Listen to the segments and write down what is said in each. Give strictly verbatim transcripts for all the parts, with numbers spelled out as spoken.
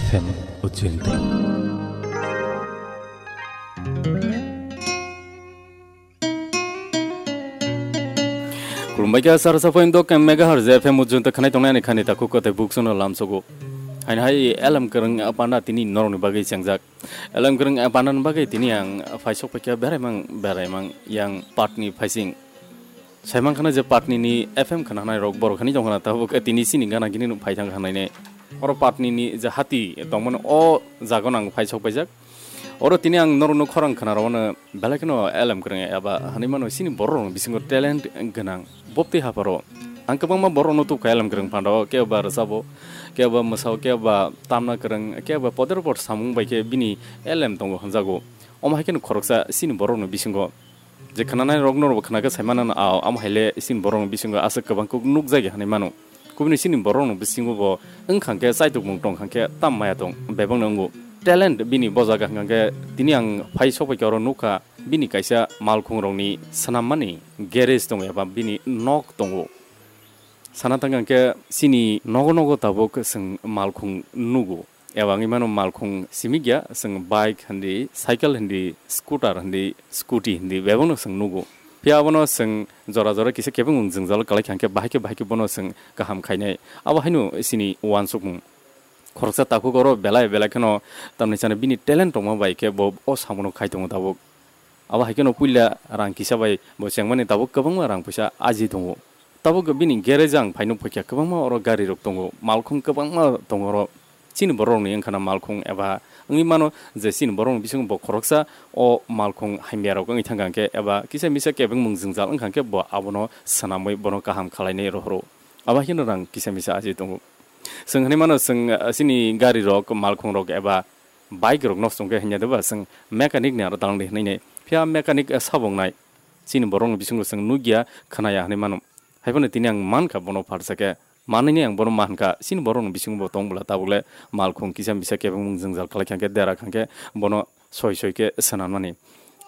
F M Ujjayanta. Khulumbaikha sar sapoi dok megahertz F M Ujjayanta khanai tongnai ani khani takhuk kote buksono lamsogo. Haini hai elem kwrwng panda tini norokni bagwi chengjak. Elem kwrwng panda ni bagwi tini ang phaisok paikha beraimang beraimang yang patni phaising. Saiman khana je patni ni F M khana hanai rok borok hani tong khana tabuk tini sini gana gini nuk phai thang khanai ne. Oro patni ni je hati tongmani o jaga nang phaisok paijak. Oro tini ang norokno khorang khna rwmano belai kheno elem kwrwng eba hanwi mano sini borok rokni bisingo talent gwnang boptwi hapharo. Ang kwbangma borok rokno tubkha elem kwrwng phandao kebo ba rwchabo, kebo ba mwsao, kebo ba tamna kwrwng, kebo ba poder por samung bai khe bini elem tongo hwnjago. Omo hai kheno khoroksa sini borok rokni bisingo. Je khnanai rok norok bo khna khe sai mano, a, amo hai le sini borok ni bisingo aswk kwbang kuk nuk jagwi hanwi mano. Kubuni sini borok ni bisingo bo wng kha khe chaitok mung tong kha khe tam maya tong bebak no wngo. Talent bini bo jaga hwnkha khe tini ang phai sok bai khe oro nuk kha bini kaisa malkhung rok ni swnam mani garage tongo eba bini nok tongo. Sana thang khe sini nogo nogo tabuk chwng malkhung nugo. Eba wngwi mano malkhung simi gya, chwng bike hindi, cycle hindi, scooter hindi, scooty hindi, bebakno chwng nugo. Phiya abono chwng jora jora kisa kebengmung jwngjal kwlai kha hwnkhe bahai khe bahai khe bono chwng kaham khainai. Abo haino chini uansukmung. Khoroksa takhuk oro belai belai kheno tamni chani bini talent tongma bai khe bo o samungo khai tongo tabuk. Abo hai kheno puila rang kisa bai bo chengmani tabuk kwbangma rang puisa aji tongo. Tabuk bini garage ang phaino phaikha kwbangma oro gari rok tongo, malkhung kwbangma tongo oro. Chini borok rokni wngkhana malkhung eba wngwi mano je chini borok rokni bisingo bo khoroksa o malkhung hamya rok wngwi thangkha hwnkhe eba kisa misa kebengmung jwngjal wngkha hwnkhe bo abono swnamwi bono kaham khwlainai rohoro. Abo hai kheno rang kisa misa aji tongo. Chwng hinwi mano chwng, ah, chini gari rok malkhung rok eba bike rok nosto wngkhe hinya deba chwng mechanic ni aro dalangdi hinwi nai. Phiya mechanic, eh, sabo wngnai. Chini borok ni bisingo chwng nukya, khnaya hinwi mano. Haiphano tini ang mankha bono pharsa khe. Manwi ni ang bono mankha. Chini borok ni bisingo bo tong bwla tabuk le malkhung kisa misa kebengmung jwngjal khlai kha khe dera kha khe bono soi soi khe swnamnani.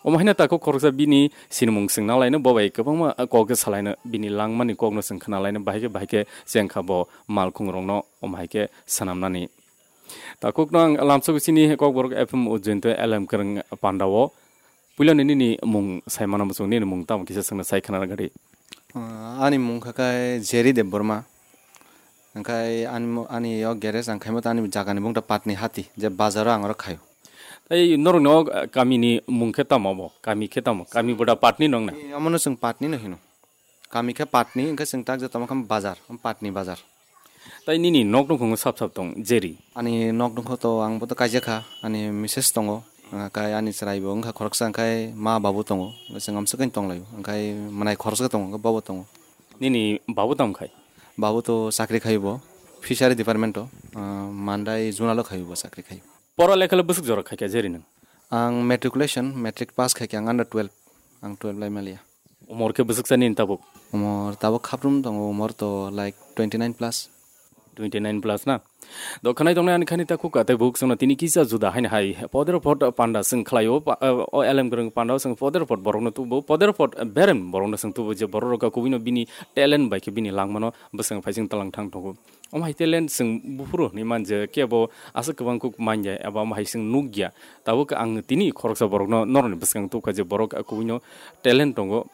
Omo haino takhuk khoroksa bini sinimung swngna laino bo bai kwbangma kok khe salaino bini langmani kokno chwng khna laino bahai khe bahai khe chengkha bo malkhung rokno omo hai khe swnamnani. Takhukno ang lamsok chini Kokborok F M Ujjainto L M Kwrwng pandao. Puilani nini mung sai mano muchung, nini mung tamo kisa swngna sai khna rwgadi. Ah, ani mung kha khe Jerry Debbarma. Hwnkhe ani mo-, ani o garage ang khaima ta ani jagani mung ta Patni Hati, je bazaro ang oro khaio. Tei norokni o, ah, kamini mung khe tamo bo? Kami khe tamo? Kami boda Patni nong na? Eh, omono chwng Patni no hino. Kami khe Patni, hwnkhe chwng tak je tamo khe bazar, Patni bazar. Tai nini nok nukhungo sap sap tong, Jerry? Ani nok nukho to ang boto kaijak kha, ani misses tongo, ah, kai ani chwrai bo wngkha khoroksa, hwnkhe ma babu tongo, hwnkhe chwng amswk khe tonglaio, hwnkhe mwnai khoroksa tongo, hwnkhe bobo tongo. Nini babu tamo khai? Babu to chakri khaio bo, fishery department o, ah, mandai junalo khaio bo chakri khaio. Pora lekha le bwswk jora khaikha Jerry nwng? Ang matriculation, matric pass khaikha ang under twelve. Ang twelve lai maliya. Umor khe bwswk sa nini tabuk? Umor tabuk khaprum tongo, umor to like twenty nine plus. Twenty nine plus na? Do khanai tongnai ani khani ta khukha tei buk songno tini kisa juda haini hai. Poder pot panda swng khlaio, pa-, o L M Kwrwng panda swng poder pot borokno tubu, poder pot berem borokno swng tubu je borok rok kubui no bini talent bai khe bini langmano bwswng phaising talang thang tongo. Omo hai talent chwng buphuru hwnwi man je kebo aswk kwbang kuk man ya eba omo hai chwng nuk ya. Tabuk ang tini khoroksa borokno norokni bwskango tubukha je borok kubuino talent tongo.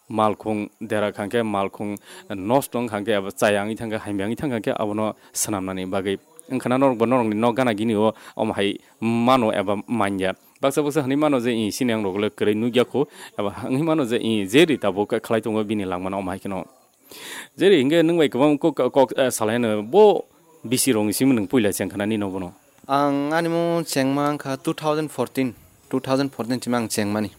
Malkhung dera khangkhe malkhung nosto wng khangkhe eba chaya wngwi thangkhe hamya wngwi thangkhe abono swnamnani bagwi. Wngkhana norokbo norokni nok gana gini o omo hai mano eba man ya. Baksa baksa hwnwi mano je i sini ang rokle kwrwi nuk ya kho eba wngwi mano je i je ri tabuk khlai tongo bini langmano omo hai kheno. Jeri hingke nwng bai kwbang kok, kok, eh, salai no bo bisi rong simi nwng puila cheng khana nini bono? Ang ani mo chengma wngkha two thousand fourteen, two thousand fourteen simi ang chengmani.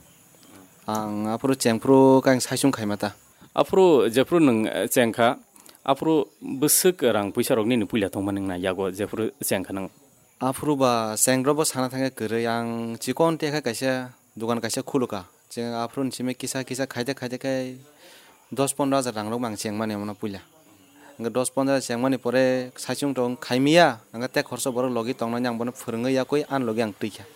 Ang aphuru chengphuru khe ang saichung khaima ta. Aphuru jephuru nwng, eh, chengkha, aphuru bwswk rang puisa rok nini puila tongmani wngna yago jephuru chengkha nwng? Aphuru ba chengro bo sana thangkhe kwrwi, ang chikon tekha kaisa dogan kaisa khulukha. Cheng aphuru ni simi kisa kisa khaide khaide khe dos pondro hajar rang rok bo ang chengmani omono puila. Hingke dos pondro hajar chengmani pore saichung tong khaimiya, hingke tei khoroksa borok logi tongnani ang bono phwrwngwi yakwi ani logi ang twikha.